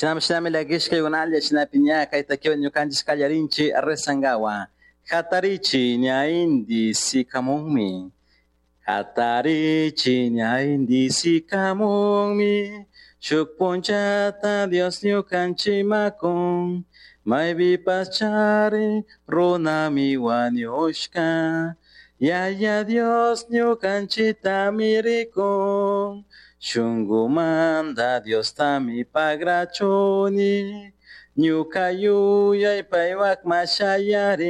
Shinami shinami llakishkaykunalla shinapi ña kayta ñukanchik kallarinchik rezankawa. Hatarichi ña inti sikamunmi. Hatarichi ña inti sikamunmi. Shuk punchata Dios ñukanchikmakun. Maypipash chari runami wañushka. Yaya Dios ñukanchitami rikun. Shunkumanta Diostami pagrachuni. Ñuka yuyay paypakman shayarin.